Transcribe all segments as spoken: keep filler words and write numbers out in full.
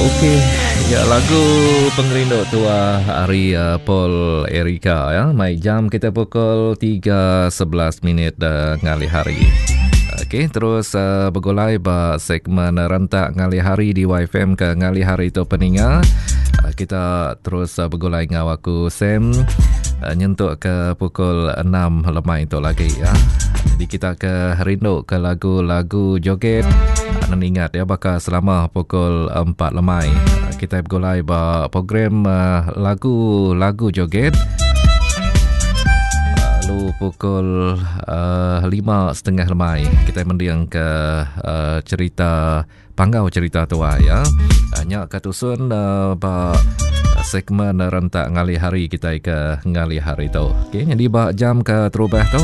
Okey, ya lagu Pengerindu Tua ari uh, Paul Erika ya. Mai jam kita pukul tiga sebelas minit uh, ngalih hari. Okey, terus uh, begulai ba segmen rentak ngalih hari di Y F M ke ngalih hari tu peninga. Uh, kita terus uh, begulai ngau aku Sam uh, nyentuk ke pukul enam lemai tu lagi ya. Jadi kita ke rindu ke lagu-lagu joget. Anda ingat ya bakal selama pukul empat lemai kita bergulai ba program uh, lagu-lagu joget. Lalu pukul uh, lima setengah lemai kita mendiang ke uh, cerita panggau cerita tua ya. Nyak katusun uh, ba segmen rentak ngalih hari kita ke ngalih hari tu. Okey, jadi ba jam ke terubah tu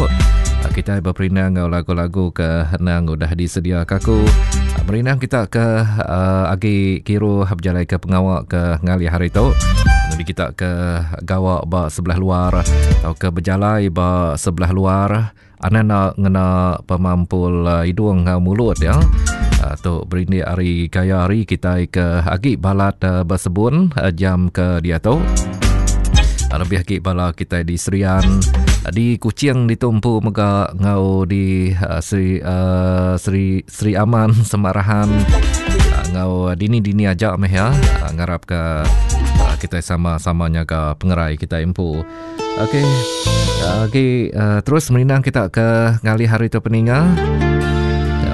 kita berperindang ngau lagu-lagu ke nang udah disedia kaku. Merinang kita ke uh, agi kiru berjalai ke pengawak ke ngalih hari tu. Jadi kita ke gawak ba sebelah luar atau ke berjalai ba sebelah luar. Ana nak ngena pemampul uh, hidung ngau mulut ya. Uh, tu berindik hari kaya hari kita ke agi balat uh, bersebun uh, jam ke dia tu. Lebih agi bala kita di Serian, di Kuching ditumpu mega ngau di uh, Seri, uh, Seri, Seri Aman Semarahan uh, ngau dini-dini aja meh ya. Uh, ngarap ke uh, kita sama-sama nyaga pengerai kita empu. Okey. Uh, okey, uh, terus merinang kita ke ngalih hari tu peninga.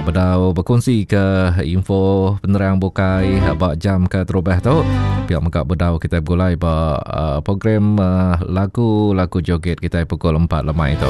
Bedau berkongsi ke info penerang bukai bak jam ke terubah tu. Pihak megak bedau kita bergulai ba uh, program uh, lagu-lagu joget kita pukul empat lemai tu.